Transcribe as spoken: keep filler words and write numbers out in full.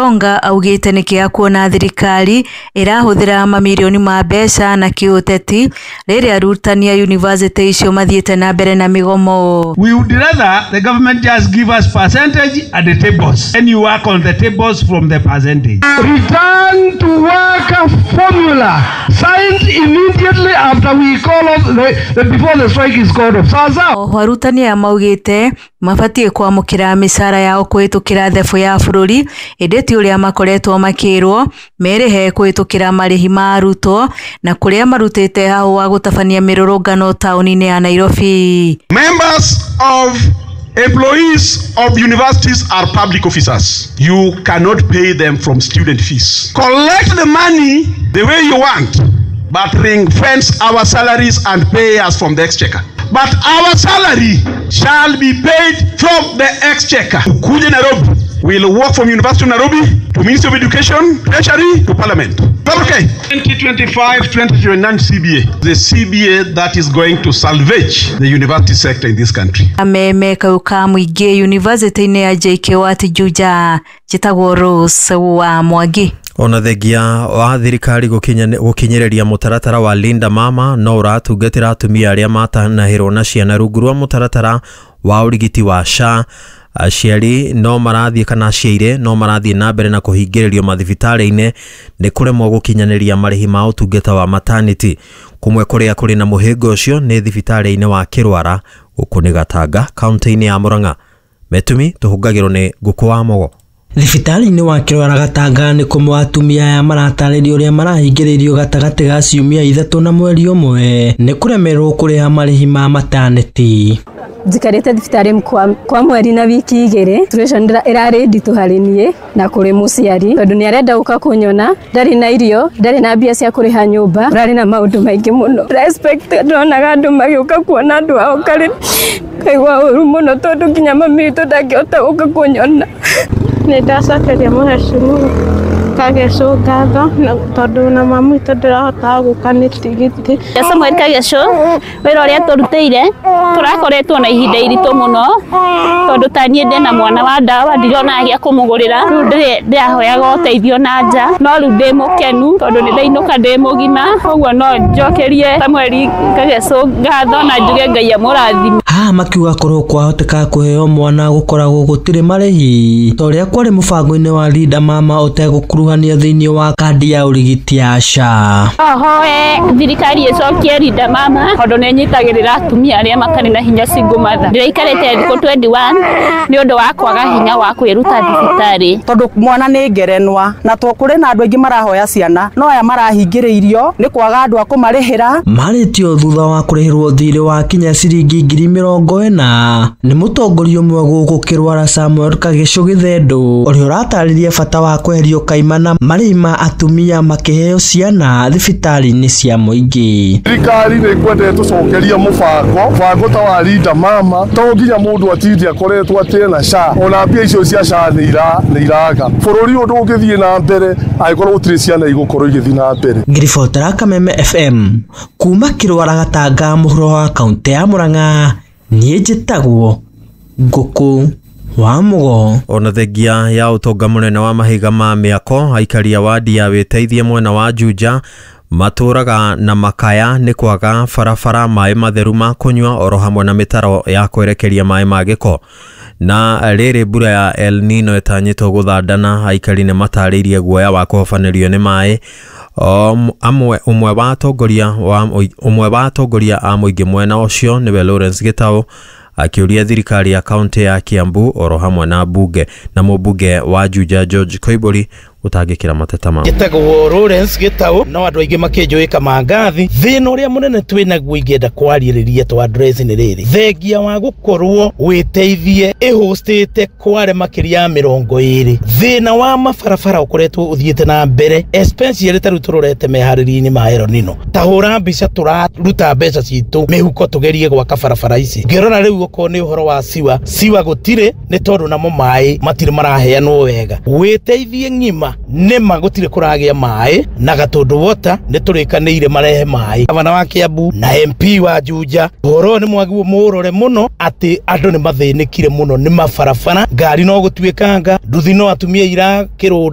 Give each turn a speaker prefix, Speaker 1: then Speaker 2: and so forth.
Speaker 1: Gitonga augĩte nĩ kĩeha kuona thirikari ĩrahũthĩra mamirioni ma mbeca na kĩũteti rĩrĩa arutani a yunivasĩtĩ icio mathiĩte na mbere na mĩgomo.
Speaker 2: We would rather the government just give us percentage at the tables, and you work on the tables from the percentage.
Speaker 3: Return to work formula signed immediately after we call off the, the before the strike is called off. Sasa
Speaker 1: Oho arutani aya maugĩte mabatiĩ kwamũkĩra mĩcara yao kũhĩtũkĩra thebũ ya bũrũri ĩndĩ ti ũrĩa makoretwo makĩrwo merĩhe kũhĩtũkĩra marĩhi ma arutwo na kũrĩa marutĩte hahũ wa gũtabania mĩrũrũngano taũni-inĩ ya Nairobi.
Speaker 4: Members of employees of universities are public officers. You cannot pay them from student fees. Collect the money the way you want, but ring fence our salaries and pay us from the exchequer. But our salary shall be paid from the exchequer. Ukuje Nairobi. We'll walk from University of Nairobi to Ministry of Education, Treasury to Parliament. Is that okay? twenty twenty-five twenty twenty-nine C B A. The C B A that is going to salvage the university sector in this country.
Speaker 1: Ameme kauka mũingĩ university-inĩ ya J K U T Juja, njĩtagwo Rose wa Mwangi.
Speaker 5: Ona thengia wa thirikari gũkinyĩrĩria mũtaratara wa Linda Mama no ũratungatĩra atumia arĩa matanahĩrwo na ciana rungu rwa mũtaratara wa ũrigiti wa S H A. Aciari no marathiĩ kana aciaire no marathiĩ na mbere na kũhingĩrĩrio mathibitarĩ-inĩ nĩ kũremwo gũkinyanĩria marĩhi ma ũtungata wa maternity. Kũmwe kũrĩa kũrĩ na mũhĩnga ũcio nĩ thibitarĩ-inĩ wa Kĩrwara gũkũ nĩ Gatanga kaunti-inĩ ya Murang'a. Metumi tũhungagĩrwo nĩ Ngũkũ wa Mogo.
Speaker 6: Thibitarĩ-inĩ wa Kĩrwara Gatanga nĩ kũmwe atumia aya maratarĩrio ũrĩa marahingĩrĩirio gatagatĩ ga ciumia ithatũ na mweri ũmwe nĩ kũremerwo kũrĩha marĩhi ma maternity.
Speaker 7: Njikarĩte thibitarĩ kwa, kwa mweri na wiki igĩrĩ. Situation ĩrarĩ nditũ harĩ niĩ na kũrĩ mũciari tondũ nĩ arenda gũka kũnyona, ndarĩ na irio, ndarĩ na mbia cia kũrĩha nyũmba, ũrarĩ na maũndũ maingĩ mũno. Respect ndonaga andũ magĩũka kuona andũ ao karĩ kaigua ũru mũno tondũ nginya mami witũ ndangĩhota gũka kũnyona.
Speaker 8: Nĩ ndacokeria mũhecimiwa Kagecu ngatho tondũ na mami witũ ndĩrahotaga gũka nĩ tigiti.
Speaker 9: Samuel Kagecu wĩra ũrĩa tũrutĩire tũrakoretwo na ihinda iritũ mũno tondũ ta niĩ ndĩna mwana wa ndawa ndirona gĩa kũmũgũrĩra, rĩu ndĩrahoyaga ũteithio na nja, no rĩu ndĩ mũkenu tondũ nĩ ndainũka ndĩ mũgima, koguo no njokerie Samuel Kagecu ngatho na njuge Ngai amũrathime.
Speaker 6: Haha makiuga korwo kwahoteka kũheo mwana gũkoragwo gũtirĩ marĩhi ta ũrĩa kwarĩ mũbango-inĩ wa Linda Mama ũtegũkuruhania thĩinĩ wa kandi ya ũrigiti ya S H A.
Speaker 9: Ohoe thirikari ĩcokie Linda Mama tondũ nĩ ĩnyitagĩrĩra atumia arĩa matarĩ na hinya single mother. Ndĩraikarĩte thikũ twenty-one nĩ ũndũ wa kwaga hinya wa kwĩruta thibitarĩ
Speaker 10: tondũ mwana nĩ ngerenwa na to kũrĩ na andũ aingĩ marahoya ciana no aya marahingĩrĩirio nĩ kwaga andũ a kũmarĩhĩra.
Speaker 6: Marĩtio thutha wa kũrĩhĩrwo thirĩ wa kinya ciringi ngiri mĩrongo ĩna nĩ mũtongoria ũmwe gũkũ Kĩrwara Samuel Kagecu Gĩthendũ ũrĩa ũratarĩria bata wa kweherio kaimana marĩhi ma atumia makĩheo ciana thibitarĩ-inĩ cia mũingĩ.
Speaker 11: Thirikari nĩ ĩkwendete tũcokerie mũbango mũbango ta wa Linda Mama to nginya mũndũ atinde akoretwo atĩ na S H A ona mbia icio cia S H A nĩ iraga. Bũrũri ũyũ ndũngĩthiĩ na mbere angĩkorwo gũtirĩ ciana igũkorwo igĩthiĩ na mbere.
Speaker 6: Ngiribotera Kameme F M kuma Kĩrwara Gatanga mũhuro wa kaunti ya Murang'a, niĩ njĩtagwo Ngũkũ wa Mũgo.
Speaker 5: Ona thengia ya ũtonga mũnene wa mahiga ma mĩako aikari a wadi ya wĩteithie mwena wa Juja matũraga na makaya nĩ kwaga barabara maĩ matheru ma kũnyua oro hamwe na mĩtaro ya kwerekeria maĩ ma gĩko. Na rĩrĩ mbura ya El Nino ĩtanyĩtwo gũthandana aikari nĩ matarĩirie guoya wa kũhobanĩrio nĩ maĩ. Um, amwe ũmwe wa atongoria wa ũmwe wa atongoria a mũingĩ mwena ũcio nĩwe Lawrence Gitau akĩũria thirikari ya kaunti ya Kiambu oro hamwe na bunge na mũmbunge wa Juja George Koimburi gũtangĩkĩra mateta mao.
Speaker 12: Njĩtagwo Lawrence Gitau no andũ aingĩ makĩnjũĩ Kamangathi. Thĩna ũrĩa mũnene twĩnaguo ingĩenda kwarĩrĩria tũ address nĩ rĩrĩ, thengia wa gũkorwo wĩteithie ĩhostĩte kware makĩria ya mĩrongo ĩrĩ, thĩna wa mabarabara ũkoretwo ũthiĩte na mbere especially ta rĩu tũrorete meharĩria-inĩ ma El Nino. Ta hũra mbica tũraruta mbeca citũ mĩhuko tũgerie gwaka barabara ici. Ngĩrora rĩu okorwo nĩ ũhoro wa siwa, siwa gũtirĩ nĩ tondũ namo maĩ matirĩ maraheanwo wega. Wĩteithie ng'ima nĩma gũtirĩ kũragĩa maĩ na Gatũndũ Water nĩ tũrĩkanĩire marehe maĩ. Gavana wa Kiambu na M P wa Juja ũhoro nĩ mwagĩrĩirwo mũrore mũno atĩ andũ nĩ mathĩnĩkire mũno nĩ mabarabara, ngari no gũtuĩkanga, nduthi no atumia irakĩrũnda.